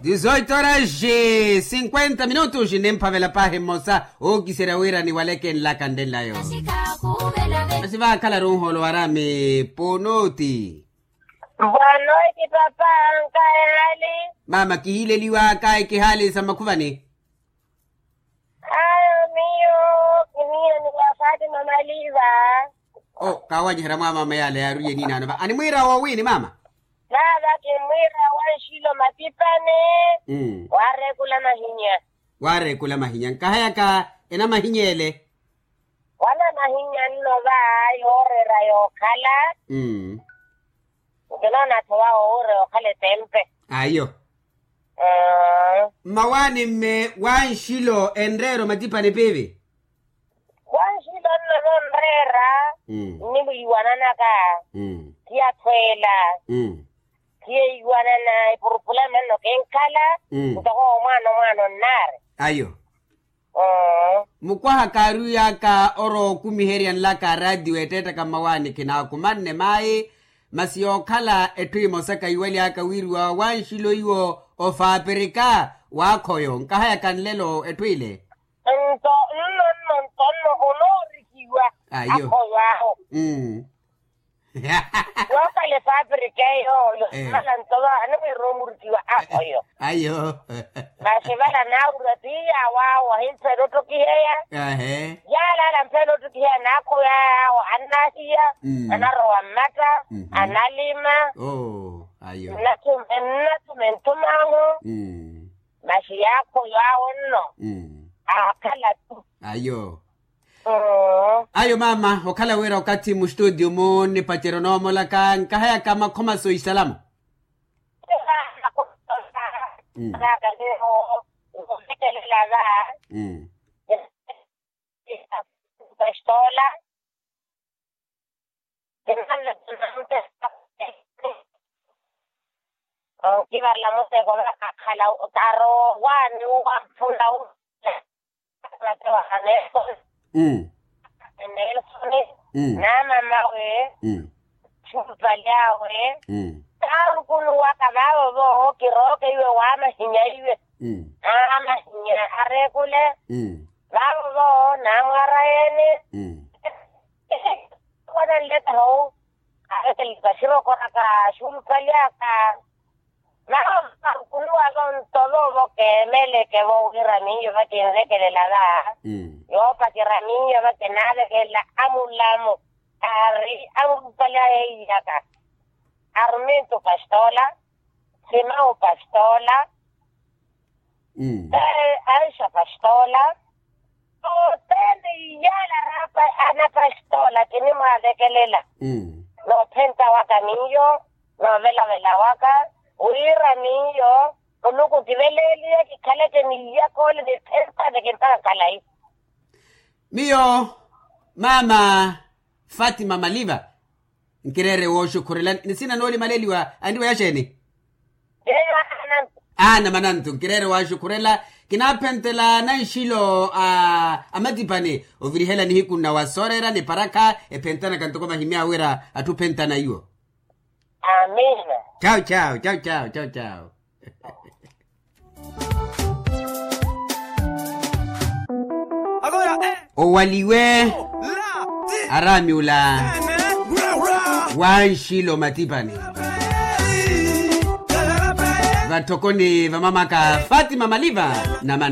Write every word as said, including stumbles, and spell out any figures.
Dizoito horas, cinquenta minutos nimphavela paahi mmosa. Ookiserya wira niwaleke nlaka ndenlayo. Masi vaakhala runholo warami. Ponoti. Ponoti papa. Nkahali. Mama kihileliwaka ekihaali sa makhuvani. Ayo miyo kiniyo ni wa fatima maliva. O kawanyiherya mwa mama yale yaaruye ninano va animwiira woowini mama. Vava kimwiira wa nxilo matipani. Waarekula mahinya. Waarekula mahinya nkahayaka enamahinya ele. Wanamahinya nno va yooreera yookhala. Nkinoona-tho wawo wuure okhala etempe. Ayo. Mmawaani mme wa nxilo enreera omatipani piivi. Wa nxilo nno nonreera. Nniwiiwananaka. Khiyathweela. Khiyeiwanana epurupula manno kinkhala. Ntoko omwaana omwaana onnaari. Ayo. Mukwaha kaarwiyaka orowa okumiherya nlaka araatiyo ettettaka mmawaani khinaakumanne mayi. Masi yookhala etthu emosa kayiwalyaka wiiriwa wa nxilo iwo ofapirika waakhoyo nkahayaka nlelo etthu ile. Nto nno nno nto nno onoorikiwa akhoyo awo. Yookhala efapirika eyo yoomala nto va animwiira omurikiwa akhoyo. Ayo. Masi vala naawira tiiya awo awo ahimphela ottokiheya. Yaala ala amphela ottokiheya naakhoyo awo annahiya. Anarowa mmata. Analima. Nnathuma entthum'ahu. Masi yaakhoyo awo nno aakhala-ttu. Ayo. Ayo mama okhala wira okathi mustutio-mu nnipacerya onoomolaka nkahayaka makhomaso isalamu. Ometelela va. Pastola. Onkivarela muteko vakakhala. Taroowaani uwampula. Nelson. Naamamawe. Xulupali awe. Taarukunuwaka vaavo vooho kirooke iwe waamahinya iwe. Aamahinya areekule. Vaavo vooho naamwaara yeene. Wana nletaho. Arekeleka sirokoraka xulupali aka. Naho varukunuwa vonto voovo keemeleke vo wira miyo vakinvekelela va. Yoopacerya miyo vakinaavekelela amulamu. Ari amulupali ayeiyaka. Arminto pastola. Simao pastola. Aisha pastola. Othene iyaala. Anapastola kinimwavekelela. Noophenta waka miyo. Noovelavela waka wira miyo muluku kiveleeliye kikhaleke ni iyakole ni thempane kintaka khalayi. Miyo mama fatima maliva. Nkireere wooxukhurela nisina noolimaleliwa andiwa yaxeeni? Aana manantu nkireere waaxukhurela. Kinaaphentela nanxilo a matipani ovirihela nihiku nnawa sooreera ni parakha ephentanaka ntoko vahimya wira atthu ophentana iwo. Amina. Chau chau chau chau chau chau. Owaliwe araami ula wa nxilo matipani vatthokoni va mamaka fatima maliva na